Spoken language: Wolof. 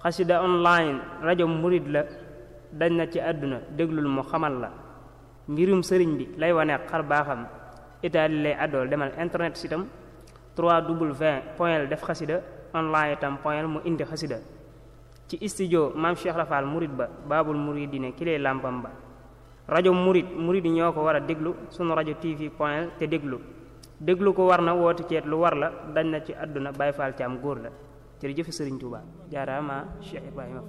xasida online rajo murid la dañ na ci àdduna déglul mu xamal la mbirum sëriñ bi lay wane xar baaxam itaali lay àddool demal internet sitam 3w def xasida online itam point mu indi xasida ci studio maam Cheikh Rafal murid ba baabul muridine ki lay làmpam ba rajo murid yi ñoo ko war a déglu sunu rajo tv point te déglu ko war na woote ceet lu war la dañ na ci àdduna Baay Faal Caam góor la jërëjëf Sëriñ Tuubaa jaaraama Cheikh Ibrahima